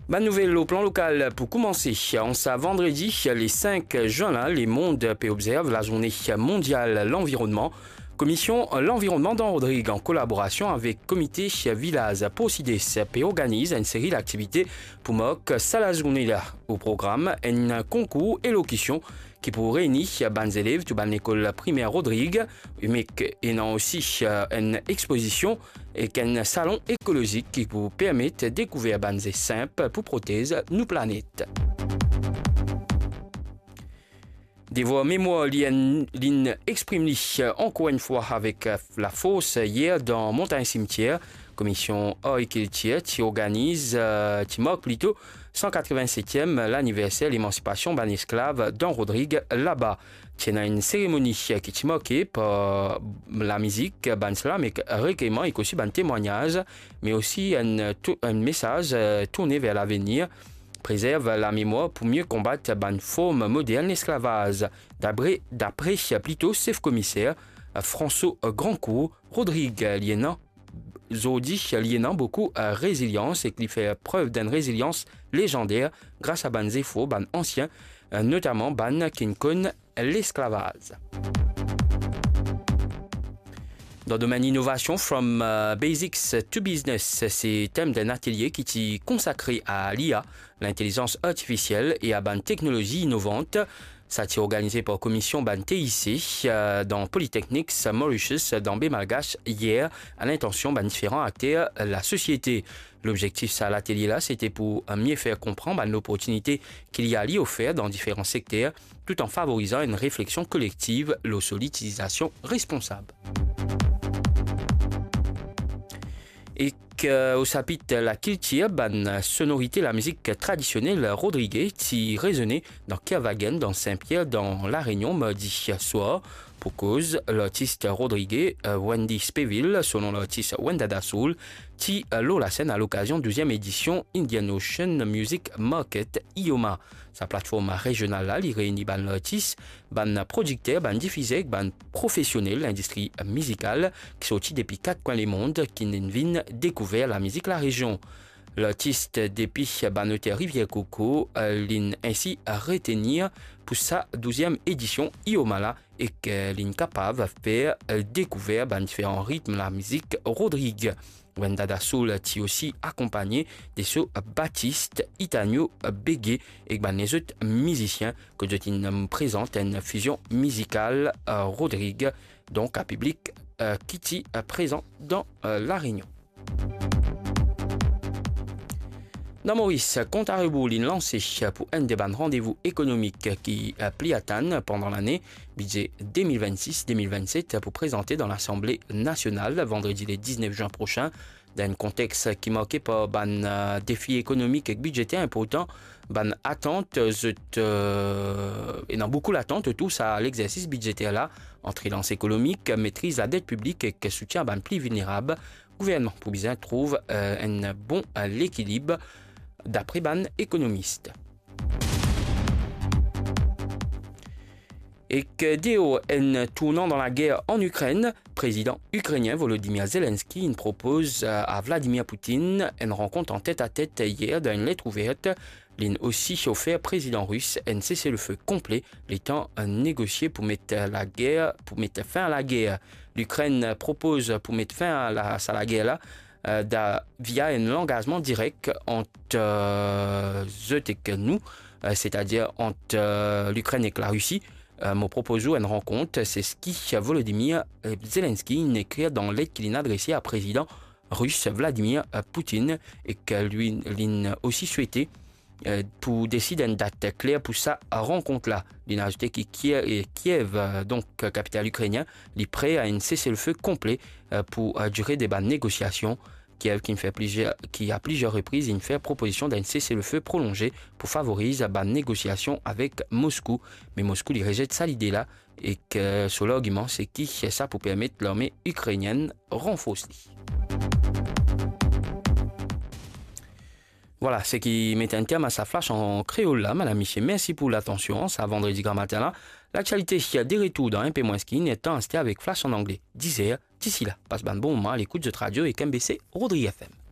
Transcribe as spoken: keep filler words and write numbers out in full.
Bann nouvel lor plan lokal pou koumanse. An sa vandredi, le sink zin la, lemond pe obzerv lazourne mondial lanvironnman. Komisyon Lanvironnman dan Rodrig, an kolaborasion avek Komite Vilaz Porsides, pe organiz enn seri laktivite pou mark sa lazourne la. O program, enn konkour elokisyon ki pou reyni bann zelev tou bann lekol primer Rodrig, me ena osi enn expozision ek enn salon ekolozik ki pou permet dekouver bann zes sinp pou protez nou planet. Devwar memwar li enn, linn exprim li ankor enn fwa avek lafors yer dan Montagn Simtier. Komisyon Ar ek Kiltir ti organiz, eh, ti mark plito san katrevinsetiem laniverser lemansipasion bann esklav dan Rodrig laba. Ti ena enn seremoni ki ti marke par lamizik, bann slam ek rekeyman, ek osi bann temwagnaz, me osi enn tou-, enn mesaz, eh, tourne ver lavenir, prezerv lamemwar pou mie konbat bann form modern lesklavaz. Dapre, dapre plito sef komiser, eh, François Grandcourt, Rodrig li ena, zordi li ena boukou, eh, rezilians ek li fer prev d'enn rezilians lezander gras a bann zefor bann ansien, eh, notaman bann ki'nn konn lesklavaz. Dan domenn inovasion, From, eh, Basics to Business, se tem d'enn atelie ki ti konsakre a l'I A, lintelizans artifisiel e a bann teknolozi inovant. Sa ti organize par komisyon bann T I C, eh, dan Polytechnics Mauritius, dan Be Malgache, yer, a lintansyon bann diferan akter lasosiete. Lobzektif sa latelie la, sete pou, eh, mie fer konpran bann loportinite ki l'I A li ofer dan diferan sekter, tout an favorizan enn refleksion kolektiv lor so litilizasyon responsab. Ek, eh, o sapit lakiltir, bann sonorite lamizik tradisionel rodrige ti rezone dan Kerwagen, dan Sin-Pier, dan La Rényon, mardi swar, pou koz lartis rodrige, eh, Wendy Speville, so non lartis Wendada Soul, ti, eh, lor lasenn a lokazion douziem edisyon Indian Ocean Music Market, IOMA. Sa platform rezional la, li reyni bann lartis, bann prodikter, bann difizer ek bann profesionel lindistri mizikal ki sorti depi kat kwin lemond, ki'nn vinn dekouver lamizik larezion. Lartis depi bann oter Rivière Coco, eh, linn ensi retenir pou sa douziem edisyon IOMA la, ek, eh, linn kapav fer, eh, dekouver bann diferan ritm lamizik rodrig. Wendada Soul ti osi akonpagne de so batis Itanio Bege ek bann lezot mizisien, kot zot inn prezant enn fizion mizikal, eh, rodrig, donk a piblik, eh, ki ti, eh, prezan dan, eh, La Rényon. Dan Moris, kont a rebour linn lanse pou enn de bann randevou ekonomik ki, eh, pli atann pandan lane, bidze de mil vennsis de mil vennset pou prezante dan Lasanble Nasional vandredi le diznef zin prosin, dan enn konteks ki marke par bann, eh, defi ekonomik ek bidzeter inportan. Bann atant, zot, eh, ena boukou latant otour sa legzersis bidzeter la, ant relans ekonomik, metriz ladet piblik ek soutien a bann pli vilnerab. Gouvernman pou bizin trouv, eh, enn bon, eh, lekilib, dapre bann ekonomis. Ek deor enn tournan dan lager an Ikrenn, prezidan ikrenien Volodymyr Zelensky inn propoz, eh, a Vladimir Poutine enn rankont an tet-a-tet yer dan enn let ouver. Linn osi ofer prezidan ris enn sese-le-fe konple, letan negosie pou met lager, pou met fin a lager. Likrenn propoz pou met fin a la, sa lager la, eh, da, via enn langazman direk ant, eh, zot ek nou, eh, setadir ant, eh, Likrenn ek Larisi. Eh, mo propoz ou enn rankont, se seki Volodymyr, eh, Zelensky inn ekrir dan let ki linn adrese a prezidan ris Vladimir, eh, Poutine, ek li, linn osi swete, eh, pou desid enn dat kler pou sa rankont la. Linn azoute ki Kie-, eh, Kiev, eh, donk, eh, kapital ikrenien, li pre a enn sese-le-fe konple, eh, pou, eh, dire de bann negosiasion. Kiev ki inn fer plizier, ki a plizier repriz inn fer propozision d'enn sese-le-fe prolonze pou favoriz bann negosiasion avek Moskou. Me Moskou, li rezet sa lide la, ek, eh, so largiman, se ki sa pou permet larme ikrenienn ranfors li. Vwala, seki met enn term a sa flash an kreol la, madam, misie, mersi pou latansion. Sa vandredi gramatin la, laktialite de retour dan inpe mwins ki inn, letan aster avek flash an angle, diz er. Disi la, pas bann bon moman a lekout zot radio ek M B C Rodrig F M.